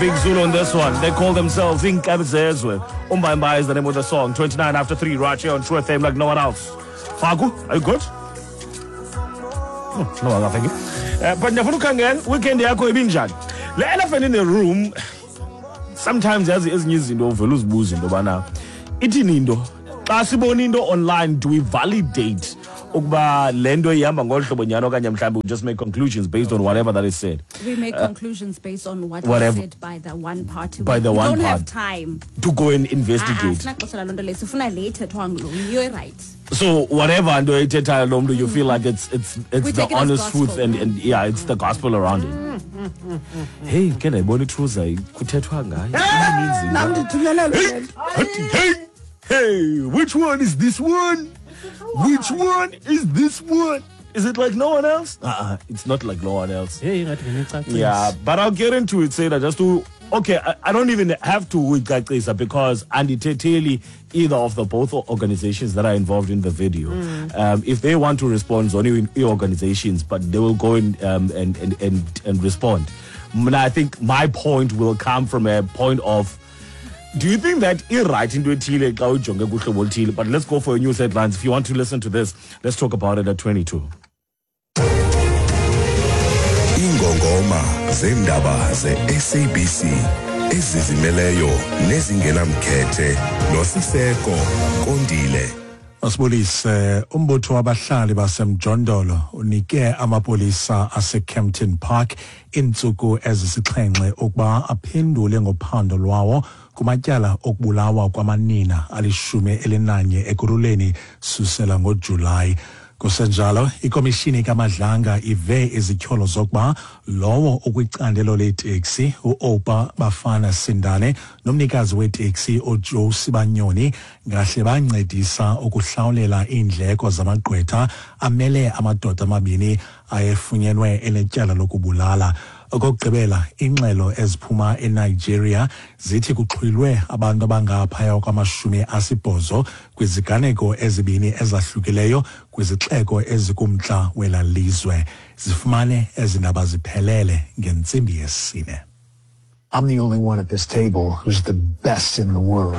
Big Zulu on this one. They call themselves Inkabizezwe. Umbayimbayi is the name of the song. 29 after 3 right here on True FM like no one else. Faku, are you good? Oh, no, thank you. But ndiyafuna ukhangela weekend yakho ibinjani? Le elephant in the room, sometimes yazi ezinye izinto uvela uzibuze into yobana ithini into. Xa sibona into online, do we validate ukuba le nto ihamba ngolu hlobo nyhani, okanye mhlawumbi we just make conclusions based on whatever that is said? We make conclusions based on what whatever. is said by the one party. By the We one don't have party. time. To go and investigate. Sinaxesha laloo nto leyo. Sifuna le ithethwa ngulo. You're right. So whatever nto ethethayo lo mntu, you feel like it's We the take it as honest gospel. truth and yeah, it's the gospel around it. Hey, ke ndayibona itruza kuthethwa ngayo. Ininzi Nam into. ndithunyelelwe le nto. Hey, hey, which one is this one? Which one is this one? Is it like no one else? Uh-uh, it's not like no one else. Hey, ingathi ngenicacisa. Yeah, but I'll get into it, Seda, just to... Okay, I don't even have to uyicacisa because andithetheli either of the both organizations that are involved in the video. If they want to respond, only organizations, but they will go and respond. I think my point will come from a point of, do you think that i-right into ethile xa ujonge kuhlobo oluthile? But let's go for your news headlines. If you want to listen to this, let's talk about it at 22. Ingongoma zendaba ze-SABC ezizimeleyo nezingenamkhethe noSiseko Kondile. Masibulise. Umbutho wabahlali basemjondolo unike amapolisa aseKempton Park iintsuku ezisixhenxe ukuba aphendule ngophando lwawo kumatyala okubulawa kwamanina 11 Ekurhuleni susela ngoJulayi. Kusenjalo, ikomishini kaMadlanga ive izityholo zokuba lowo ukwicandelo leteksi uOpa Bafana Sindane nomnikazi weteksi uJoe Sibanyoni ngahle bancedisa ukuhlawulela iindleko zamagqwetha amele amadoda amabini ayefunyenwe enetyala lokubulala. Okokugqibela, ingxelo eziphuma eNigeria zithi kuxhwilwe abantu abangaphaya kwama-80 kwiziganeko ezibini ezahlukileyo kwizixeko ezikumntla wela lizwe. Zifumane ezi ndaba ziphelele ngentsimbi yesine. I'm the only one at this table who's the best in the world.